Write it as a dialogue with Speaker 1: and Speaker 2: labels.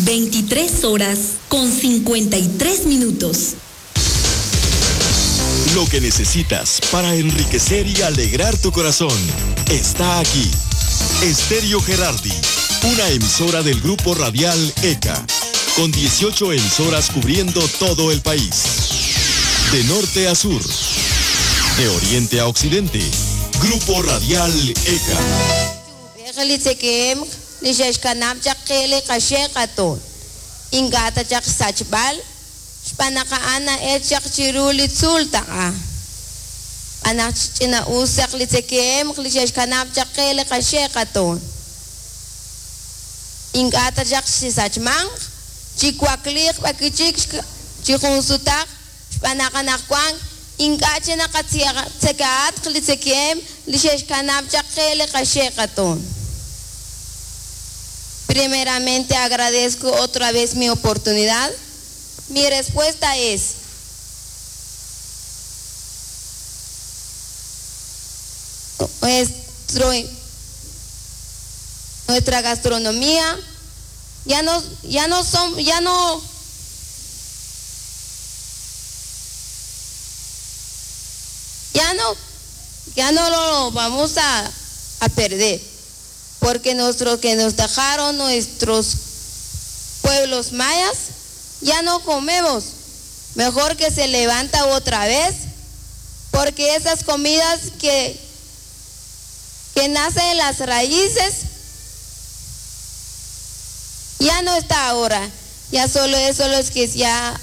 Speaker 1: 23 horas con 53 minutos.
Speaker 2: Lo que necesitas para enriquecer y alegrar tu corazón está aquí. Estéreo Gerardi, una emisora del grupo radial ECA, con 18 emisoras cubriendo todo el país. De norte a sur, de oriente a occidente, Grupo Radial ECA.
Speaker 3: Li tzekemq li xe'xkanab' chaq qe li qaxe' qatoon. Ink'a' ta chaq xsachb'al, xb'aan naq a'an na'el chaq chiru li tzuul taq'a. Xb'aan naq ch'ina'us chaq li tzekemq li xe'xkanab' chaq qe li qaxe' qatoon. Ink'a' ta chaq xsachmanq, chiwakliiq b'akichik chi junsutaq xb'aan naq anaqwan ink'a' chik naqatzekahatq li tzekemq li xe'xkanab' chaq qe li qaxe' qatoon. Primeramente agradezco otra vez mi oportunidad. Mi respuesta es nuestro, nuestra gastronomía ya no, ya no son, ya no ya no, ya no lo vamos a, a perder, porque nuestro que nos dejaron nuestros pueblos mayas, ya no comemos. Mejor que se levanta otra vez, porque esas comidas que, que nacen en las raíces, ya no está ahora. Ya solo eso los que ya